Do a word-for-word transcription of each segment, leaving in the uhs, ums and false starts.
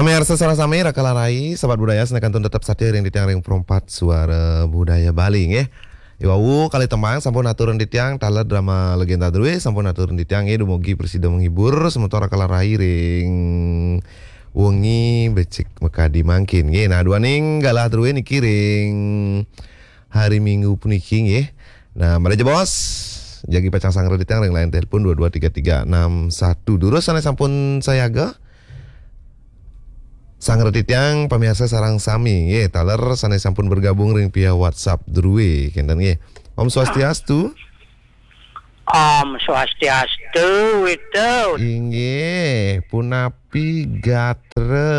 Pamiarsa sareng sami, Raka lan Rai, Sobat Budaya, sané kantun tetep satia ring titiang ring Pro empat Suara Budaya Bali, nggih. Iwau kalih tembang sampun aturan titiang, taler drama legenda drué sampun aturan titiang, nggih, dumugi prasida menghibur semeton Raka lan Rai ring wengi becik makadi mangkin, nggih. Nah, duaning galah drué niki ring hari Minggu puniki, nggih. Nah, mangda jebos, jagi pacang sanggra titiang ring line telepon dua dua tiga tiga enam satu. Durus sané sampun sayaga, sanggra titiang pamiarsa sareng sami, nggih, taler sané sampun bergabung ring via WhatsApp drué, kénten, nggih. Om Swastiastu. Om Swastiastu, Witut. Inggih, punapi gatra?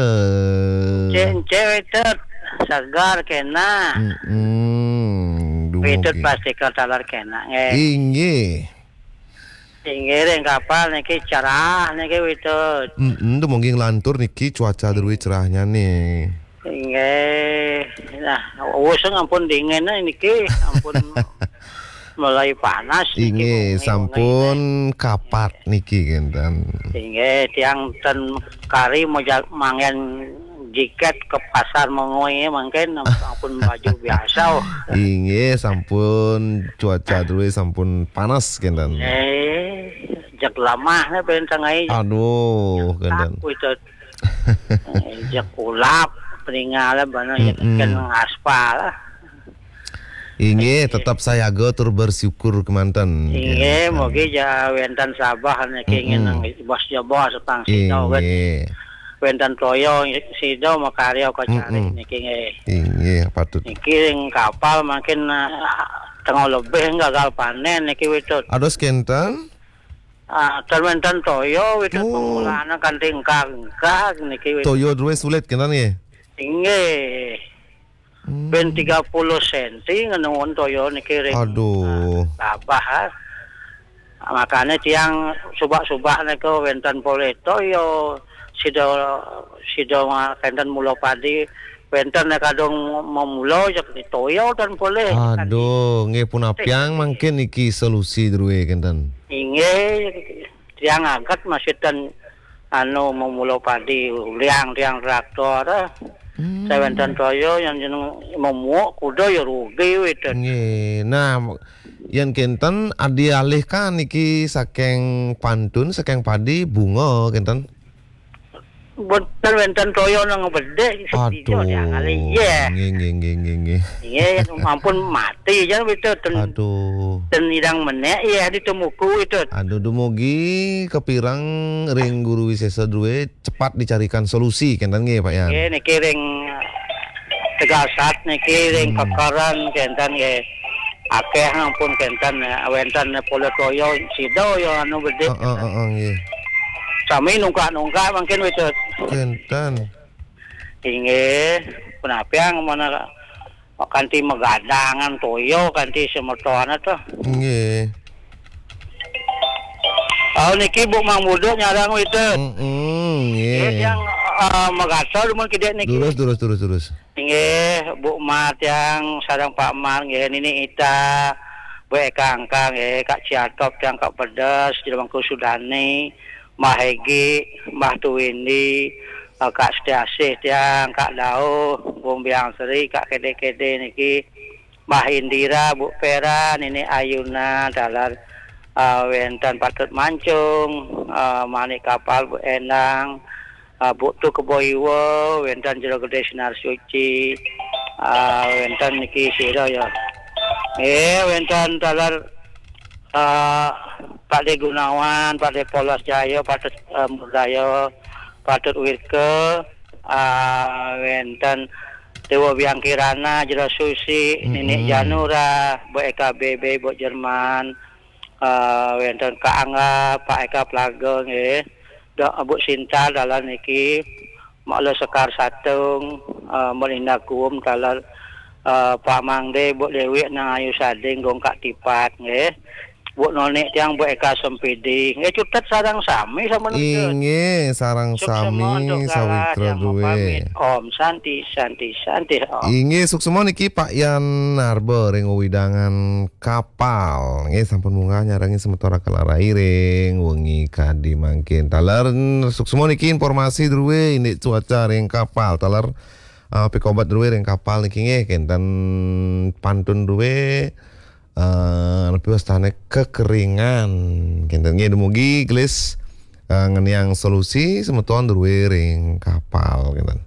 Cek, cek, Witut. Seger kénak. Mm-mm, Witut dumugi. Pasti ka taler kénak, nggih. Inggih. Inggih, ring kapal niki cerah niki, Witut. Mm-mm, dumugi nglantur niki cuaca drué cerahnyané. Inggih. Nah, wusung ampun dingin niki, ampun mulai panas niki. Inggih, wengi-wengi sampun kapat niki, kénten. Inggih, tiang ten kari moja-, manggen jaket ke pasar Mengwi mangkin ampun baju biasa. Inggih, sampun cuaca drué sampun panas, kénten. Eh, jeg lemah né ben tengai. Aduh, kénten. Tak, Witut. Eh, jeg ulap, peningal, bana, ya, mm-mm, kan ngaspal. Inggih, tetep sayaga tur bersyukur kémanten. Inggih, mugi ja wénten sabeh niki, mm-mm, ngenang bos jebos pang sida, wét. Inggih. Wénten toya sida makarya kacari, mm-mm, niki, nggih. Inggih, patut. Niki ring kapal mangkin, ah, tengah lebih gagal panen niki, Witut. Ados kénten? Ah, ten wénten toya, Witut. Oh. Pamulana kanti engkag-engkag niki, Witut. Toya drué sulit kénten, nggih? Inggih. Hmm. Ben tiga puluh senti ngenuun toya niki ring, aduh, ah, labah, ah. Makané tiang subak-subak nika wénten polih toya, sida, sida ma-, kénten mula padi, wénten nika kadung mamula, jeg toya ten polih. Aduh, nggih, punapiang mangkin niki solusi drué, kénten? Inggih, tiang aget masih ten anu, mamula padi, uliang tiang traktor, ah. Hmm. Sawénten toya yang jeneng memuuk kuda ya rugi, Witut. Nggih. Nah, yén kénten adi alih kan niki saking pantun, saking padi, bunga kénten? Boten wénten toya nang bedih, sedih. Aduh, tiang alih, iya. Nggih, nggih, nggih, nggih, nggih. Iya, ampun mati jan, Witut, ten, aduh, ten idang menék, iya, ditemuku, Witut. Aduh, dumugi kapireng ring Guru Wisésa drué cepat dicarikan solusi, kénten nggih, Pak Yan? Nggih, niki ring Tegasat niki ring, hmm, Kekeren kénten nggih. Akéh ampun kénten, ya, wénten polih toya sida ya anu bedih. Heeh, heeh, nggih. Sami nungkak-nungkak mangkin, Witut. Kénten. Inggih, punapiang mana kanti magadangan toya kanti semetoné to. Nggih. Oh, niki Bu Mang Buduk nyareng, Witut. Mm-mm, nggih. Nggih, tiang, eh, magatra dumun kidik niki. Durus, durus, durus, durus. Nggih, Bu Mar tiang sareng Pak Mar nggih, Nini Ita, Bu Eka Angka nggih, Kak Ciatop tiang, Kak Pedes, Jero Mangku Sudani, Mbah Hegi, Mbah Tuwindi, eh, Kak Setiasih tiang, Kak Dauh, Bung Biang Sri, Kak Kede-Kede niki, Mbah Indira, Bu Pera, Nini Ayuna, taler, eh, wénten Patut Mancung, eh, Manik Kapal, Bu Endang, eh, Bu Tu Kebo Iwa, wénten Jero Gedé Sinar Suci, eh, wénten niki sira ya. Eh, wénten taler, eh, Pak De Gunawan, Pak De Polos Jaya, Patut, eh, Murdaya, Patut Wirke, eh, wénten Dewa Biang Kirana, Jero Susi, Nini, mm-mm, Janura, Bu Eka B B, Bu Jerman, eh, wénten Kak Angga, Pak Eka Plaga nggih. Da-, Bu Sinta taler niki, Mak Lo Sekar Satung, eh, Melinda Kuum taler, eh, Pak Mangde, Bu Dewi, Nang Ayu Sading, Gong Kak Tipat nggih. Bu Nonik tiang, Bu Eka Sempidi. Nggih, cutet sareng sami sampun. Inggih, sareng sami, sawitra duwe. Om Santi, Santi, Santi, Om. Inggih, suksma niki Pak Yan Narba ring wewidangan Kapal. Nggih, sampun munggah nyarengin semeton Raka Larai ring wengi kadi mangkin. Taler suksma niki informasi duwe indik cuaca ring Kapal. Taler, eh, pikobat duwe ring Kapal niki nggih, kenten pantun duwe, eh, nepi wastane kekeringan. Kenten nggih, dumugi gelis, eh, ngeniang solusi semeton duwe ring Kapal, kenten.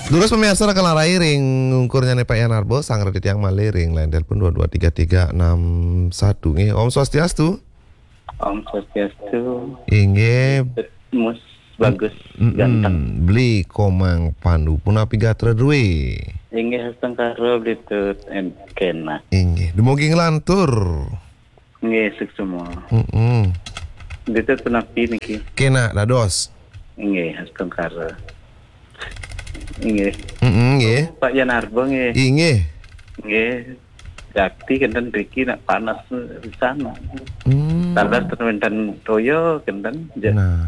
Durus pamiarsa Raka Larai ring ungkurnyane Pak Yan Narba, sang reti tiang malih ring line telepon dua dua tiga tiga enam satu nggih. Om Swastiastu. Om Swastiastu. Inggih. Mus Bagus, mm-mm, ganteng. Beli Komang Pandu, punapi gatra duwe? Inggih, astungkara Beli Tut en kena. Inggih, dumugi nglantur. Nggih, suksma. Mm-mm. Beli Tut punapi niki? Kena dados. Inggih, astungkara. Inggih. Mm-mm, nggih. Pak Yan Narba nggih. Inggih. Nggih. Jakti kenten riki nak panas di sana. Hmm. Taler ten wenten toya kenten. Ja-, nah,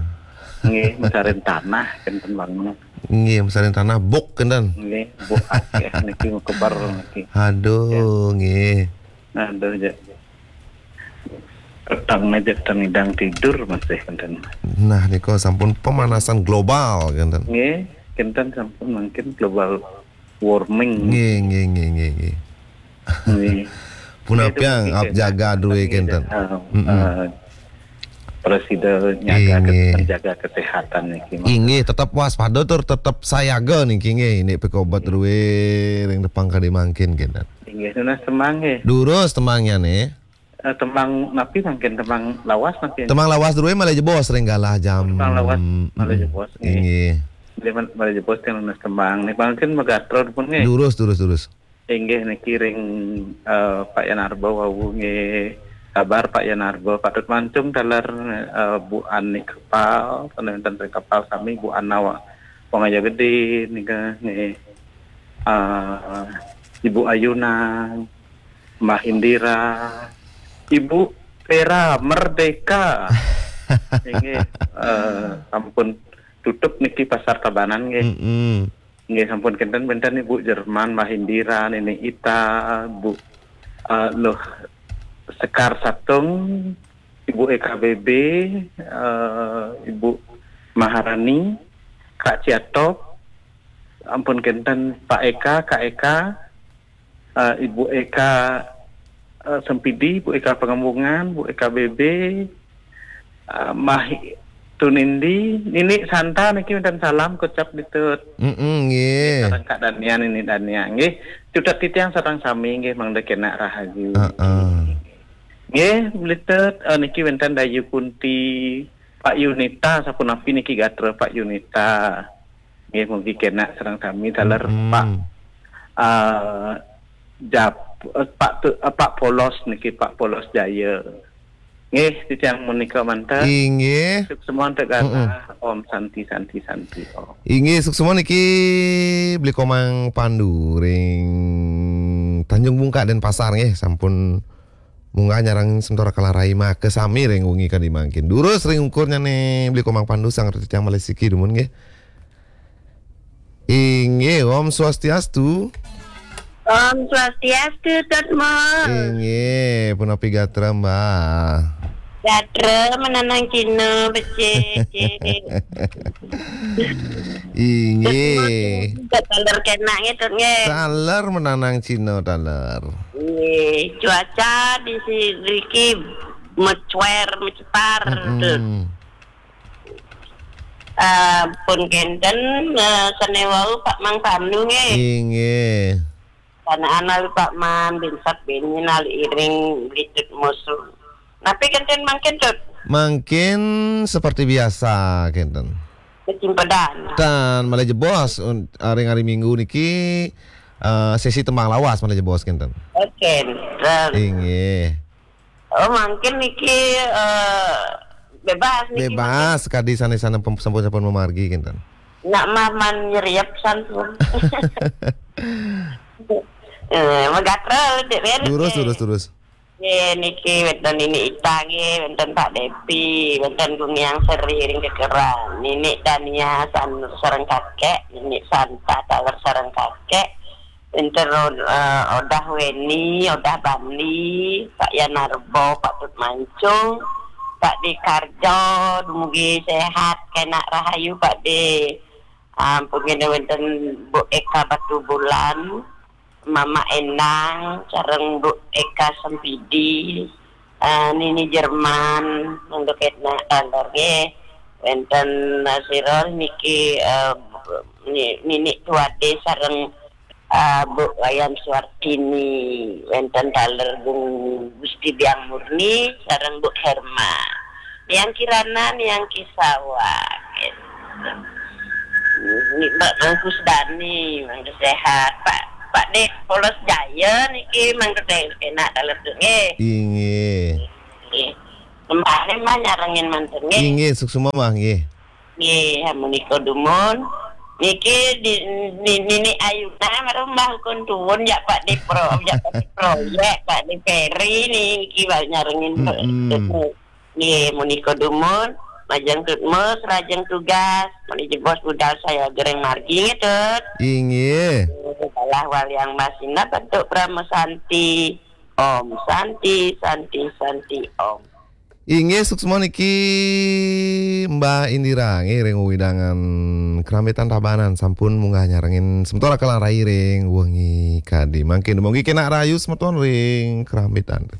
nggih, mesarin tanah kenten bangun. Nggih, mesarin tanah buk kenten. Nggih, buk akeh niki, keber niki. Aduh, ya, nggih. Aduh, ja. Petang aja tengidang tidur masih kenten. Nah, nika sampun pemanasan global kenten. Nggih, kenten sampun mungkin global warming. Nggih, nggih, nggih, nggih, nggih. Nggih. Punapiang ap jaga duwe kenten. Ah, mm-mm, ah, presida nyaga, inggih, ke-, menjaga kesehatan niki, Mas. Inggih, tetep waspada tur tetep sayaga niki nggih, ini pikobat duwe ring tepang kadi mangkin kenten. Inggih, nunas tembang nggih. Durus tembangnya nih. Eh, tembang napi mangkin, tembang lawas mangkin? Tembang lawas duwe malih jebos ring galah jam. Tembang lawas malih jebos, nggih. Inggih. Malih, malih jebos teng nunas tembang. Nih mangkin magatra pun nggih. Durus, durus, durus. Inggih niki ring, eh, Pak Yan Narba wau nggih. Kabar Pak Yan Narba, patut mancung taler, eh, Bu Ani Kapal, ten wenten ring Kapal sami, Bu Ana wa-, Wangaya Gede nika nggih. Eh, Ibu Ayunan, Mbah Indira, Ibu Vera Merdeka. Inggih, eh, sampun tutup niki Pasar Tabanan nggih. Mm-mm. Nggih, sampun kenten-kenten Ibu Jerman, Mbah Indira, Nini Ita, Bu, eh, Luh Sekar Satung, Ibu Eka B B, eh, Ibu Maharani, Kak Ciatop, ampun kenten Pak Eka, Kak Eka, eh, Ibu Eka, eh, Sempidi, Bu Eka Pangembungan, Bu Eka B B, eh, Mah Tunindi, Nini Santa niki wenten salam kocap Beli Tut. Mm-mm, nggih. Sareng Kak Dania, Nini Dania, nggih. Cutet titiang sareng sami nggih, mangda kena rahayu. Heeh. Nggih, Beli Tut, eh, niki wenten Dayu Kunti, Pak Yunita, sapunapi niki gatra Pak Yunita. Nggih, mugi kena sareng sami taler, mm-mm, Pak, eh, Jap-, eh, Pak Tu-, eh, Pak Polos niki, Pak Polos Jaya. Nggih, titiang menika manten. Inggih. Suksma antuk galah. Mm-mm. Om Santi, Santi, Santi, Om. Inggih, suksma niki Beli Komang Pandu ring Tanjung Bungka, Denpasar nggih, sampun munggah nyarengin semeton Raka Larai maka sami ring wengi kadi mangkin. Durus ring ungkurnyane Beli Komang Pandu, sang reti tiang malih siki dumun nggih. Inggih, Om Swastiastu. Om Swastiastu, Tut Mo. Inggih, punapi gatra, Mbah? Gatra menanang Cina, becik, cik. Inggih. Tut Mo, taler kena nggih, Tut, nggih. Taler menanang Cina, taler. Nggih, cuaca di si-, riki mecuer, mecipar, mm-mm, Tut. Eh, pun kenten, eh, sane wau Pak Mang Pandu nggih. Inggih. Kanaan lalu Pak Man, binsat bini nali iring Beli Tut musuh. Napi kenten mangkin, Tut? Mangkin seperti biasa kenten. Kecimpedan. Tan malih jebos un-, ring hari Minggu niki, eh, sesi tembang lawas malih jebos kenten. Oke, kenten. Inggih. Oh, mangkin niki, eh, bebas niki. Bebas, mangkin. Kadi sane-sane pem-, sampun-sampun mamargi kinten. Nak mah man nyeriep sampun. Eh, magatra, Dek Ber. Durus, durus, durus. Ye, niki wénten Nini Ita nggih, wénten Pak Depi, wénten Gumiang Seri ring Kekeran. Nini Dania san-, sareng kakek, Nini Santa taler sareng kakek. Wénten Ro-, eh, Odah Weni, Odah Bandi, Pak Yanarbo, Pak Tut Mancung, Pak Di Karjo, dumugi sehat, kenak rahayu Pak Di. Ampun, ngene wénten Bu Eka Batubulan, Mama Endang, sareng Bu Eka Sempidi, eh, Nini Jerman, mangda kenak taler nggih. Wénten, eh, sira niki, eh, ni-, Nini Tuade sareng, eh, Bu Wayan Suartini, wénten taler Gung Gusti Biang Murni sareng Bu Herma. Niang Kirana, Niang Kisawa. Ini Mbak Mangkus Dani, mangda sehat. Pak, Pak Dek, Polos Jaya niki mangda kenak taler nggih. Inggih. Nggih. Kembali mah nyarengin manten nggih. Inggih, suksma mah nggih. Nggih, menika dumun. Niki di, di, Nini Ayuna marang Mbah Ukun Tuwun ya Pak di pro, ya Pak di proyek, Pak di Peri niki bal nyarengin. Mm-mm. Nggih, menika dumun, majeng tutmus, rajeng tugas, mani jebos budal saya gereng margi nggih, Tut. Inggih. Salah waliang masina bentuk Brahma Santi. Om Santi, Santi, Santi, Om. Inggih, suksma niki Mbah Indira nggih ring wewidangan Krampitan Tabanan sampun munggah nyarengin semeton Raka Rai ring wengi kadi mangkin. Mugi kenak rahayu semeton ring Krampitan.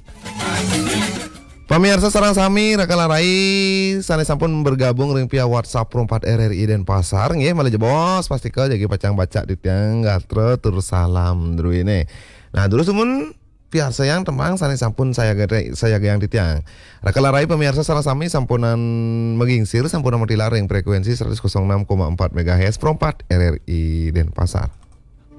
Pamirsa sareng sami, Raka Rai sane sampun bergabung ring via WhatsApp Pro empat R R I Denpasar nggih, malih jebos pastika jagi pacang baca titiang gatra tur salam druene. Nah, durus dumun piarsayang tembang sane sampun saya gede, saya gayang titiang. Raka Rai pamirsa sareng sami sampunang magingsir, sampunang matilar ring frekuensi seratus kosong enam koma empat megahertz Pro empat R R I Denpasar.